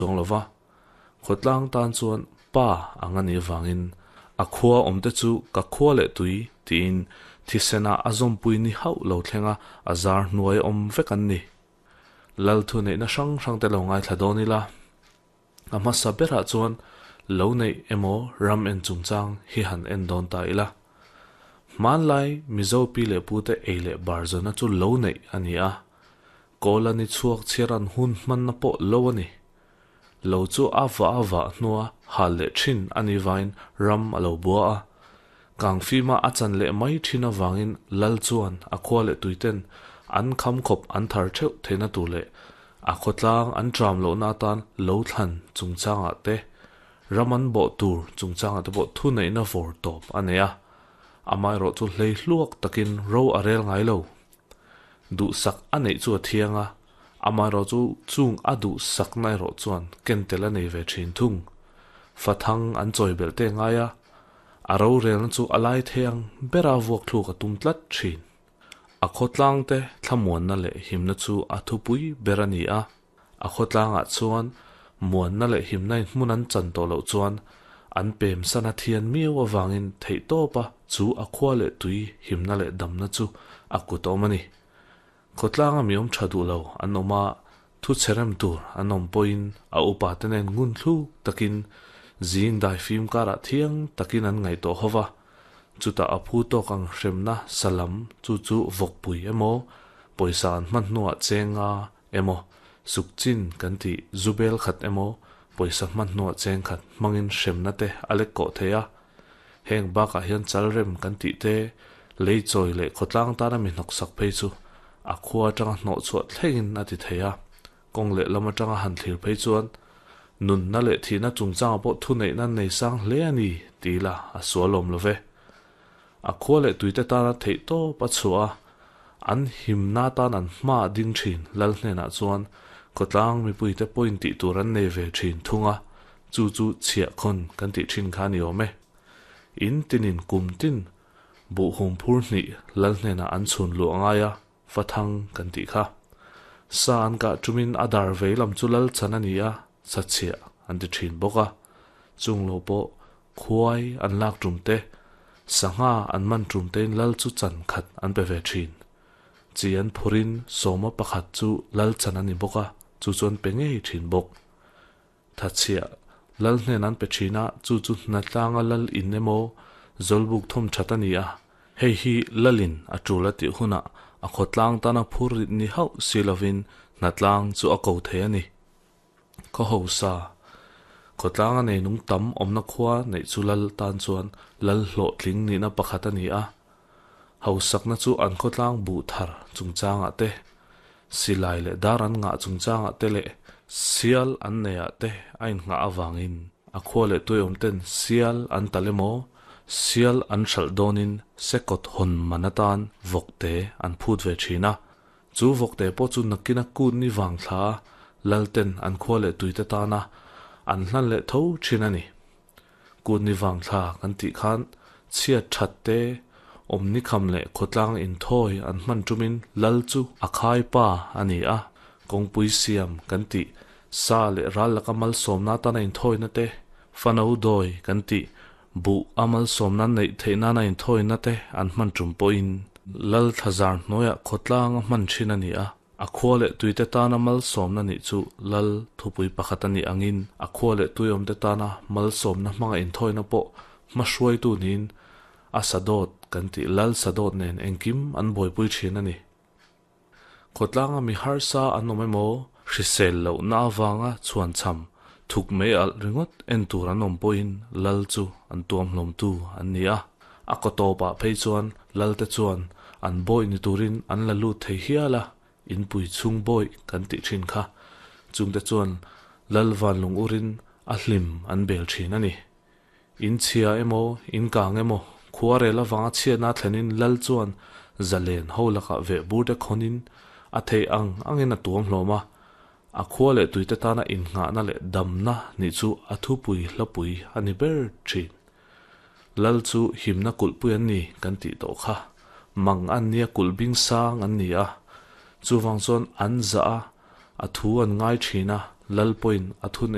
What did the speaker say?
Chuang lo va, khawtlang tan chuan pa ang a nih avangin a khua awmte chu ka khua leh tui tiin thisena a zawmpui ni hauh lo thlenga a zar hnuai awm vek an ni. Lal thu neihna hrang hrangte lo ngaithla dawn ila, a hmasa berah chuan lo neih emaw ram en chungchang hi han en dawn ta ila. Hmanlai Mizo pi leh pute ei leh bar zawna chu lo neih a ni a, Kawl a ni chhuak chhiar an hun hmanna pawh lo a ni. Lo chu a vah a vah hnua hal leh thin a ni vain ram a lo bua a. Kangfima a chan leh mai thin avangin Lal chuan a khua leh tuiten an kham khawp an thar theuh theihna tur leh a khawtlang an tram lohna atan lo thlan chungchangah te ram an bawh tur chungchangah te pawh thuneihna vawr tawp a nei a. Amaherawh chu hlei hluak takin ro a rel ngai lo. Duhsak a neih chu a thiang a, amaherawh chu chung a duhsakna erawh chuan ken tel a nei ve thin thung. Fathang an chawi belh te ngai a, a rorelna chu a lai thei ang bera vuak thluk a tum tlat thin. A khawtlangte thlamuanna leh himna chu a thupui ber a ni a, A khawtlangah chuan muanna leh himna in hmun an chan tawh loh chuan an pem san a thian miau avangin theihtawpa chu a khua leh tui himna leh damna chu a kut a awm a ni. Khawtlanga mi awm tha duh lo an awm a, thu chhe rem tur an awm pawhin a upa te nen ngun thluk takin zing dai fim karah thiang takin an ngaihtuah ho va, chutah a phu tawk ang hremna salam chu chu vawkpui emaw pawisa an hman hnuah chenga emaw, sukchin kan tih zu bel khat emaw, pawisa hman hnuah cheng khat hmangin hremna te a lek kawh thei a. Heng bakah hian chalrem kan tih te, lei chawi leh khawtlang tana mi hnawksak phei chu a khua atanga hnawh chhuah thlengin a ti thei a. Kawng leh lam atanga han thlir phei chuan nunna leh thihna chungchangah pawh thuneihna nei sang hle a ni ti ila a sualawm lo ve. A khua leh tuite tana theihtawp a chhuah a, an himna atan an hma a ding thin Lal hnenah chuan khawtlang mipuite pawhin tih tur an nei ve thin thung a, chu chu chhiahkhawn kan tih thin kha a ni awm e. In tinin kum tin buh hum phur hnih Lal hnenah an chhun luh a ngai a, Fathang kan tih kha. Sa an kah tumin a dar vei lam chu Lal chan a ni a, sa chhiah an ti thin bawk a, chung lo pawh Khuai an lak tum te, sangha an man tum tein lal chu chan khat an pe ve thin. Chi an phurin sawma pakhat chu lal chan a ni bawk a, chu chu an pe ngei thin bawk. Thachhiah lal hnen an pe thin a, chu chu hnatlanga lal in emaw zawlbuk thawm that a ni a, hei hi lalin a tul a tih hunah a khawtlang tana phur rit ni hauh si lovin hnatlang chu a ko thei a ni. Khaw hausa, khawtlanga nei nung tam awmna khua neih chu lal tan chuan lal hlawhtling nihna pakhat a ni a. Hausakna chu an khawtlang buh thar chungchangah te, silai leh dar an ngah chungchangah te leh sial an neihah te a innghah avangin a khua leh tuiawm ten sial an talh emaw, sial an hralh dawnin sekawt hawn man atan vawkte an phut ve thin a. Chu vawkte pawh chu nakina kut ni vang thla a, Lalten an khua leh tuite tana an hlan leh tho thin a ni. Kut ni vang thla kan tih khan chhiat that te, awm ni kham leh khawtlang inthawi an hman tumin Lal chu a khai pa a ni a, kawngpui siam kan tih, sa leh ral laka malsawmna tana inthawina te, fano dawi kan tih, Buh a malsawmna neih theih nana inthawina te an hman tum pawhin Lal thlazar hnuaiah khawtlang a hman thin a ni a, a khua leh tuite tana malsawmna nih chu Lal thupui pakhat a nih angin a khua leh tuiawmte tana malsawmna hmanga inthawina pawh hmahruaitu niin a sadawt kan tih Lal sadawt nen engkim an buaipui thin a ni. Khawtlanga mi harsa an awm emaw, hrisel lohna avanga chhuanchham thuk mai alh ringawt en tur an awm pawhin lal chu an tuam hlawmtu an ni a. A kaw tawpah phei chuan lalte chuan an bawih ni turin an la lut thei hial a, inpui chhung bawih kan tih thin kha. Chungte chuan lal vanlung urin a hlim an bel thin a ni. In chhia emaw, in kang emaw, khua rel avanga chhiatna thlenin Lal chuan zalen ho lakah veh bur te khawnin a theih ang angin a tuam hlawm a, a khua leh tuite tana innghahna leh damna nih chu a thupui hlapui a ni ber thin. Lal chu himna kulhpui an ni kan tih tawh kha. Mang an nia kulh bing sang an ni a, chuvang chuan an zah a, a thu an ngai thin a. Lal pawhin a thunei.